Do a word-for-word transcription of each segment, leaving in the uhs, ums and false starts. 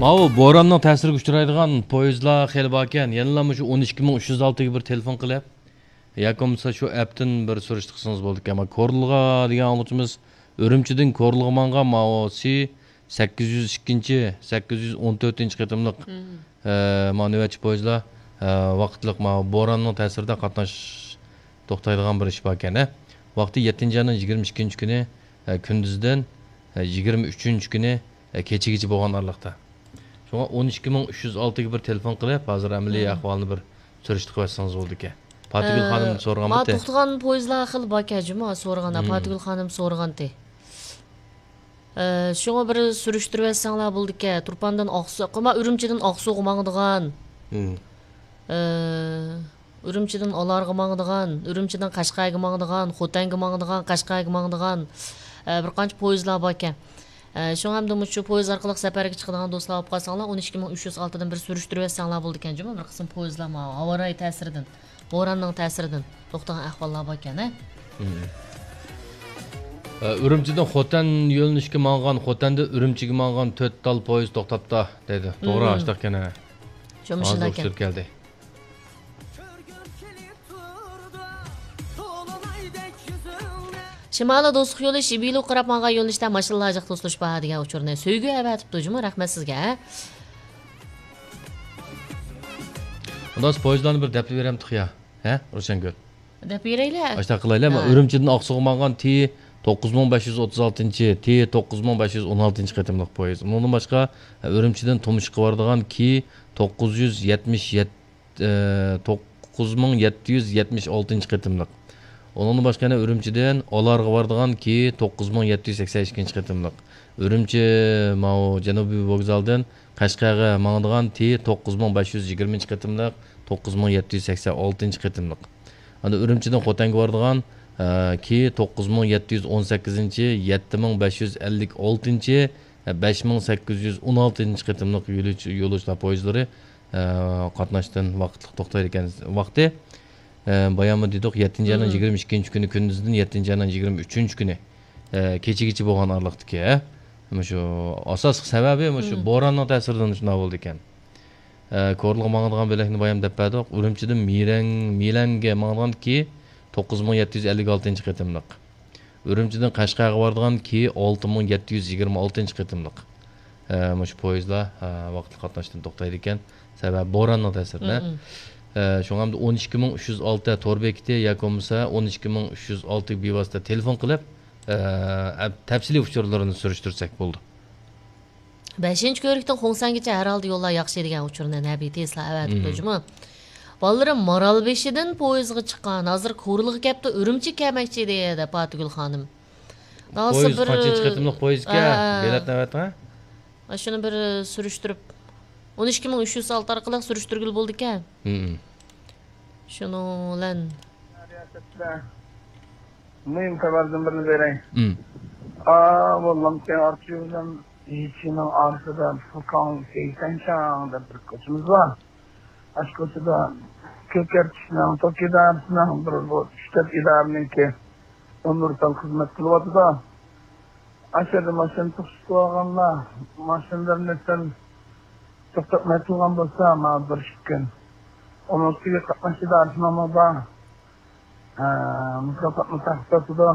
ماۋۇ بوراننىڭ تەسىرىگە ئۇچرايدىغان پويىزلار خېلى باركەن. يەنىلا مۇشۇ ئون ئىككى مىڭ ئۈچ يۈز ئالتىگە بىر تېلېفون قىلىپ، ياكى بولمىسا شۇ ئەپتىن بىر سۈرۈشتە قىلسىڭىز بولىدىكەن. ئەمما كورلىغا دېگەن ئاڭلىغۇچىمىز ئۈرۈمچىدىن كورلىغا ماڭغان ماۋۇ سى سەككىز يۈز ئىككىنچى، سەككىز يۈز ئون تۆتىنچى قېتىملىق، مم. ئە، ماۋۇ نۆۋەتچى پويىزلار، ئە، ۋاقىتلىق ماۋۇ بوراننىڭ تەسىرىدە قاتناش توختايدىغان بىر ئىش باركەن، ھە. ۋاقتى يەتتىنچى ئاينىڭ يىگىرمە ئىككىنچى كۈنى، ئە، كۈندۈزدىن، ئە، يىگىرمە ئۈچىنچى كۈنى، ئە، كېچىگىچە بولغان ئارىلىقتا. شۇڭا ئون ئىككى مىڭ ئۈچ يۈز ئالتىگە بىر تېلېفون قىلىپ، ھازىر ئەمەلىي مم. ئەھۋالنى بىر سۈرۈشتە قىلىۋەتسىڭىز بولىدىكەن. پاتىگۈل ئە، خانىم سورىغانمىتى؟ توختىغان پويىزلار خېلى باركەن جۇمۇ، سورىغان. مم. پاتىگۈل خانىم سورىغانتى. ئە، شۇڭا بىر سۈرۈشتۈرۈۋەتسەڭلار بولىدىكەن. تۇرپاندىن ئاقسۇ، قىما ئۈرۈمچىدىن ئاقسۇغا ماڭىدىغان. مم. ئە، ئۈرۈمچىدىن ئالارغا ماڭىدىغان، ئۈرۈمچىدىن قەشقەرگە ماڭىدىغان، خوتەنگە ماڭىدىغان، قەشقەرگە ماڭىدىغان، ئە، بىر قانچە پويىزلار باركەن. ئە، شۇڭا ئەمدى مۇشۇ پويىز ئارقىلىق سەپەرگە چىقىدىغان دوستلار بولۇپ قالساڭلار، ئون ئىككى مىڭ ئۈچ يۈز ئالتىدىن بىر سۈرۈشتۈرۈۋەتسەڭلار بولىدىكەن جۇمۇ. بىر قىسىم پويىزلار ماۋۇ ھاۋارايى تەسىرىدىن، بوراننىڭ تەسىرىدىن توختىغان ئەھۋاللار باركەن، ھە؟ مم. ئە، ئۈرۈمچىدىن خوتەن يۆنىلىشكە ماڭغان، خوتەندىن ئۈرۈمچىگە ماڭغان تۆت تال پويىز توختاپتۇ، دەيدۇ. توغرا، مم. ئاشتاق ئىكەن، ھە. شۇ ھازىر مۇشۇنداق ئۇچۇر كەلدى. شىمالىي دوستلۇق يولى شىبىلۇ قاراپ ماڭغان يۆنىلىشتە ماشىنىلار جىق توسۇلۇش بار دېگەن ئۇچۇرنى سۆيگۈ ئەۋەتىپتۇ جۇمۇ، رەھمەت سىزگە. ئۇنداق پويىزلارنى بىر دەپ بېرەمتۇق يا؟ ھە، روشەنگۈل؟ دەپ بېرەيلى. ئاشتاق قىلايلى. ھە. ئۈرۈمچىدىن ئاقسۇغا ماڭغان تى توققۇز مىڭ بەش يۈز ئوتتۇز ئالتىنچى، تى توققۇز مىڭ بەش يۈز ئون ئالتىنچى قېتىملىق پويىز. ئۇنىڭدىن باشقا، ئۈرۈمچىدىن تۇمشۇققا بارىدىغان كى توققۇز يۈز يەتمىش يەتتە، ئە، توققۇز مىڭ يەتتە يۈز يەتمىش ئالتىنچى قېتىملىق. ئۇنىڭدىن باشقا يەنە ئۈرۈمچىدىن ئالارغا بارىدىغان كى توققۇز مىڭ يەتتە يۈز سەكسەن ئىككىنچى قېتىملىق. ئۈرۈمچى ماۋۇ جەنۇبىي ۋوگزالدىن قەشقەرگە ماڭىدىغان تى توققۇز مىڭ بەش يۈز يىگىرمىنچى قېتىملىق، توققۇز مىڭ يەتتە يۈز سەكسەن ئالتىنچى قېتىملىق. ئاندىن ئۈرۈمچىدىن خوتەنگە بارىدىغان، ئە، كى توققۇز مىڭ يەتتە يۈز ئون سەككىزىنچى، يەتتە مىڭ بەش يۈز ئەللىك ئالتىنچى، ئە، بەش مىڭ سەككىز يۈز ئون ئالتىنچى قېتىملىق يولۇچ-، يولۇچىلار پويىزلىرى، ئە، قاتناشتىن ۋاقىتلىق توختايدىكەن ۋاقتى. ئە، باياممۇ دېدۇق، يەتتىنچى ئاينىڭ مم. يىگىرمە ئىككىنچى كۈنى كۈندۈزدىن يەتتىنچى ئاينىڭ يىگىرمە ئۈچىنچى كۈنى، ئە، كېچىگىچە بولغان ئارىلىقتىكى، ھە؟ مۇشۇ ئاساسلىق سەۋەبى مۇشۇ مم. بوراننىڭ تەسىرىدىن شۇنداق بولىدىكەن. ئە، كورلىغا ماڭىدىغان بۆلەكنى بايام دەپ بەردۇق. ئۈرۈمچىدىن مىرەڭ، مىلەڭگە ماڭىدىغان كى توققۇز مىڭ يەتتە يۈز ئەللىك ئالتىنچى قېتىملىق. ئۈرۈمچىدىن قەشقەرگە بارىدىغان كى ئالتە مىڭ يەتتە يۈز يىگىرمە ئالتىنچى قېتىملىق. ئە، مۇشۇ پويىزلار، ئە، ۋاقىتلىق قاتناشتىن توختايدىكەن. سەۋەبى بوراننىڭ تەسىرىدە. مم. ئە، شۇڭا ئەمدى ئون ئىككى مىڭ ئۈچ يۈز ئالتە تور بېكىتى ياكى بولمىسا ئون ئىككى مىڭ ئۈچ يۈز ئالتە بىۋاسىتە تېلېفون قىلىپ، ئە، تەپسىلىي ئۇچۇرلىرىنى سۈرۈشتۈرسەك بولىدۇ. بەشىنچى كۆۋرۈكتىن خۇڭسەنگىچە ھەر ھالدا يوللار ياخشى دېگەن ئۇچۇرنى نەبى تېزلا ئەۋەتىپتۇ مم. جۇمۇ. بالىلىرىم مارالبېشىدىن پويىزغا چىققان، ھازىر كورلىغا كەپتۇ، ئۈرۈمچىگە كەلمەكچى دەپ پاتىگۈل خانىم. داۋاسى پويىز بىر قانچىنچى قېتىملىق پويىز ئىكەن؟ ھە. بېلەت نۆۋەتىڭ، ھە؟ شۇنى بىر سۈرۈشتۈرۈپ، ئون ئىككى مىڭ ئۈچ يۈز ئالتە ئارقىلىق سۈرۈشتۈرگىلى بولىدىكەن. مم. شۇنىڭ بىلەن رىياسەتچىلەر، مۇھىم خەۋەردىن بىرنى بېرەي. مم. ئا، بولمامكەن، ئارچى بىلەن يىچىنىڭ ئارىسىدا فۇكاڭ سەيسەنشاڭ دەپ بىر كوچىمىز بار. ئاشۇ كوچىدا كۆكەرتىشنىڭ، توك ئىدارىسىنىڭ بىر، بۇ ئۈچ تۆت ئىدارىنىڭكى ئۇنىۋېرسال خىزمەت قىلىۋاتىدۇ. ئاشۇ يەردە ماشىنا توختىتىۋالغانلار ماشىنىلىرىنى سەل توختاتماي قىلغان بولسا، ماڭا بېرىشىپكەن. ئۇنىڭ ئۈستىگە قاتناش ئىدارىسىنىڭمۇ بار. ھە، مۇكاپاتنى تارقىتىۋاتىدۇ.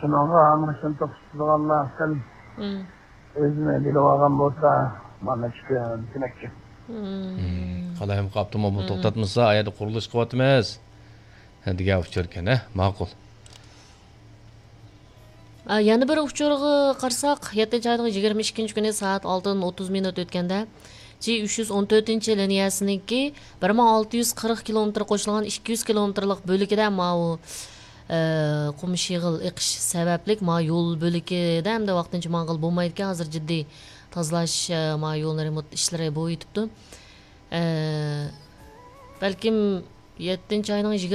شۇنىڭغا ماشىنا توختىتىدىغانلار سەل مم. ئۆزىنى بىلىۋالغان بولسا، مانا شۇ كۆمەكچى. مم. مم. قالايمىقان ئاپتوموبىل مم. توختاتمىسا، ئا يەردە قۇرۇلۇش قىلىۋاتىمىز دېگەن ئۇچۇر ئىكەن، ھە؟ ماقۇل. ئا، يەنە بىر ئۇچۇرغا قارىساق، يەتتىنچى ئاينىڭ يىگىرمە ئىككىنچى كۈنى سائەت ئالتىدىن ئوتتۇز مىنۇت ئۆتكەندە، جى ئۈچ يۈز ئون تۆتىنچى لىنىيەسىنىڭكى بىر مىڭ ئالتە يۈز قىرىق كىلومېتىر قوشۇلغان ئىككى يۈز كىلومېتىرلىق بۆلىكىدە ماۋۇ، ئە، قۇم شېغىل ئېقىش سەۋەبلىك ماۋۇ يول بۆلىكىدە ئەمدى ۋاقتىنچە ماڭغىلى بولمايدىكەن. ھازىر جىددىي تازىلاش، ئە، ماۋۇ يولنى رېمونت ئىشلىرى بولۇۋېتىپتۇ. ئە، بەلكىم يەتتىنچى ئاينىڭ يىگىرمە